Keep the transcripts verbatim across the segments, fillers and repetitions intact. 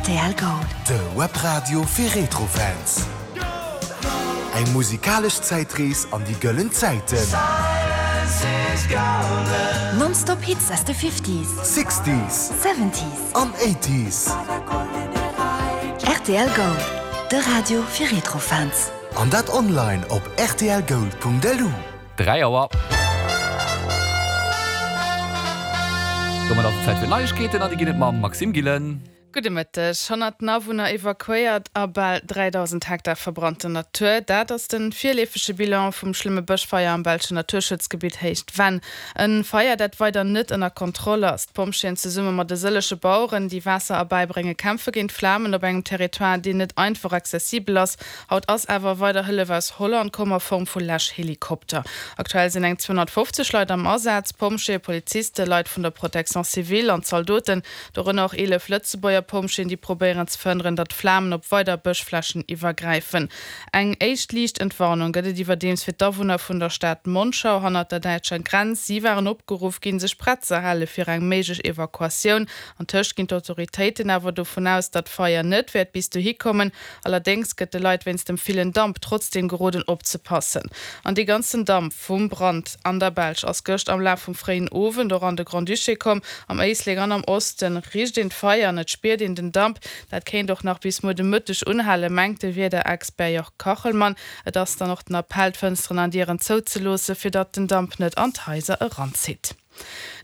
Rtl Gold. De Webradio fir Retrofans. Eng musikalesch Zäitrees an déi gëllen Zäiten. Nonstop Hits aus de Fifties, Sixties Seventies an Eighties. Rtl Gold, de Radio fir Retrofans. An dat online op rtlgold.lu. Dräi Auer. Domat ass et Zäit fir Neiegkeeten an déi ginn et mam Maxime Gillen. Gudde Mëtteg. Honnerten Awunner evakuéiert a bal dräidausend Hektar verbrannten Natur, dat ass de virleefege Bilan vum schlëmme Bëschfeier am belschen Naturschutzgebitt Héicht Venn. E Feier, dat weider net ënner Kontroll ass. D'Pompjeeën zesumme mat e sëllege Baueren, déi Waasser erbäibrénge kämpfe géint d'Flamen op engem Territoire, deen net einfach accessibel ass. Haut ass awer weider Hëllef aus Holland komm a Form vu Läschhelikopter. Aktuell sinn eng zweehonnertfofzeg Leit am Asaz, Pompjeeë, Polizisten, Leit vun der Protection civile an Zaldoten, dorënner och eelef Lëtzebuerger Pompjeeën, déi probéieren ze verhënneren, datt d'Flamen op weider Bëschflächen iwwergräifen. Eng éischt liicht Entwarnung gëtt et iwwerdeems fir d'Awunner vun der Stad Monschau hannert der däitscher Grenz. Si waren opgeruff ginn, sech prett ze hale fir eng méiglech Evakuatioun. Antëscht ginn d'Autoritéiten awer dovun aus, datt d'Feier net wäert bis dohi kommen. Allerdéngs gëtt de Leit wéinst dem villen Damp trotzdeem geroden, opzepassen. An dee ganzen Damp vum Brand an der Belsch ass gëscht am Laf vum fréien Owend och an de Grand-Duché komm. Am Éislek an am Oste richt een d'Feier an et spiert een den Damp. Dat kéint och nach bis muer de Mëtteg unhalen, mengt de Wiederexpert Jörg Kachelmann. Et ass dann och den Appell, d'Fënsteren an Dieren zouzeloossen, fir datt den Damp net an d'Haiser eranzitt.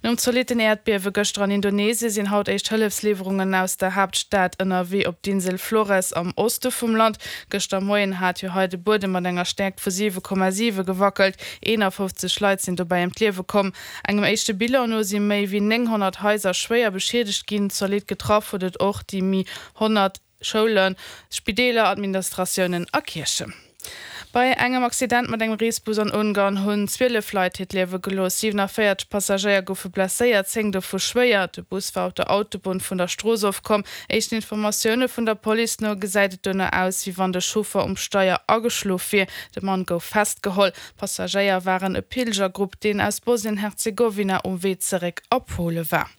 Nom zolitten Äerdbiewe gëschter an Indonesie sinn haut éischt Hëllefsliwwerungen aus der Haaptstad ënnerwee op d'Insel Flores am Oste vum Land. Gëschter Moien hat jo hei de Buedem mat enger Stäerkt vu siwe Komma siwe gewackelt. eenafofzeg Leit sinn dobäi ëm d'Liewe komm. Engem éischte Bilan no si méi wéi nénghonnert Haiser schwéier beschiedegt ginn. Zolidd getraff huet et och déi méi honnert Schoulen, Spideeler, Administratiounen a Kierchen. Bei engem Accident mat engem Reesbus an Ungarn hunn zwielef Leit hiert Liewe gelooss. siwenavéierzeg Passagéier goufe blesséiert, zéng dovu schwéier. De Bus war op der Autobunn vun der Strooss ofkomm. Éischten Informatioune vun der Police no gesäit et dono aus, wéi wann de Chauffer um Steier ageschlof wier. De Mann gouf festgeholl. D'Passagéier waren e Pilgergrupp, deen aus Bosnien-Herzegowina um Wee zeréck a Pole war.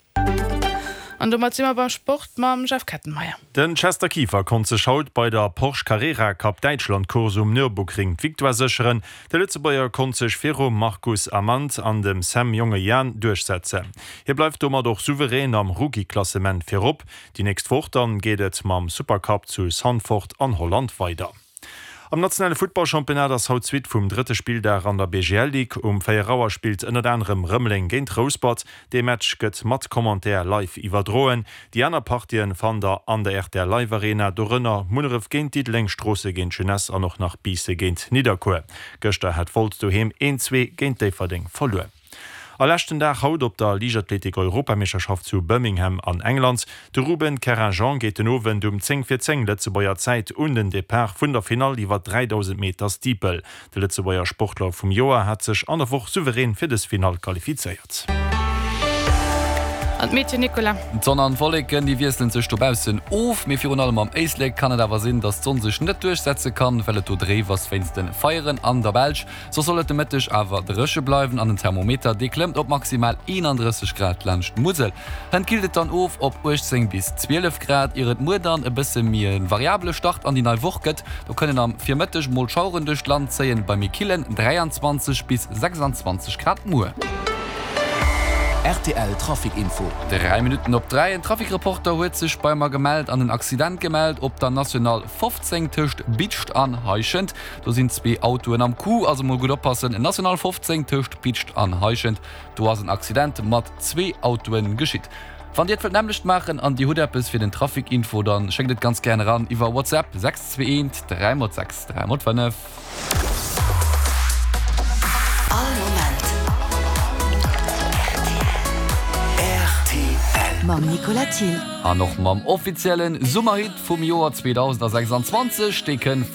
An domat si mer beim Sport mam Jeff Kettenmeyer. Den Chester Kieffer konnt sech haut bei der Porsche Carrera Cup Däitschland Course um Nürburgring d'Victoire sécheren. De Lëtzebuerger konnt sech virum Marcus Amand an dem Sam Jongejan duerchsetzen. Hie bleift domat och souverän am Rookie-Klassement virop. Déi nächst Woch dann geet et mam Supercup zu Zandvoort an Holland weider. Am nationale Futtballchampionnat ass haut d'Suite vum drëtte Spilldag an der B G L Ligue. Um véier Auer spillt ënnert anerem Rëmeleng géint Rouspert. Dee Match gëtt mat Commentaire live iwwerdroen. Déi aner Partien fannt der an der R T L Live Arena, dorënner Munneref géint Diddeleng, Stroosse géint Jeunesse an och nach Biisse géint Nidderkuer. Gëschter hat Wolz doheem een zwee géint Déifferdeng verluer. A leschten Dag haut op der Liichtathletik-Europameeschterschaft zu Birmingham an England. De Ruben Kerrin-Jean geet den Owend um zéng vir zéng Lëtzebuerger Zäit un den Depart vun der Finall iwwer dräidausend Meter Steeple. De Lëtzebuerger Sportler vum Joer hat sech an der Woch souverän fir dës Finall qualifizéiert. An d'Meteo, Nicolas? D'Sonn an d'Wolleken, déi wiesselen sech dobaussen of, mee virun allem am Éislek kann et awer sinn, dass d'Sonn sech net duerchsetze kann, well et do dréif ass wéinst de Feieren an der Belsch. Soss soll et de Mëtteg awer dréche bleiwen an den Thermometer, dee klëmmt op maximal eenandrësseg Grad laanscht d'Musel. Hënt killt et dann of op uechtzéng bis zwielef Grad, ier et muer dann e bësse méi e variabele Start an déi nei Woch gëtt. Do kënnen am Virmëtteg mol Schaueren duerch d'Land zéien, bei méi killen dräianzwanzeg bis sechsanzwanzeg Grad muer. R T L Trafic Info. Dräi Minutten op dräi. En Trafic-Reporter huet sech bei mer gemellt an en Accident gemellt op der National fofzéng tëscht Bidscht an Heischent. Do sinn zwee Autoen am Coup, also mol gutt oppassen. National fofzéng tëscht Bidscht an Heischent, do ass en Accident mat zwee Autoen geschitt. Wann Dir et wëllt nämmlecht maachen an Dir hutt eppes fir den Trafic Info, dann schéckt et ganz gären eran iwwer WhatsApp sechs zwee eent dräi mol sechs dräi mol fënnef. All Moment R T L. Mam Nicolas Thill. An och mam offiziellen Summerhit vum Joer zweedausendsechsanzwanzeg, dee kënnt vu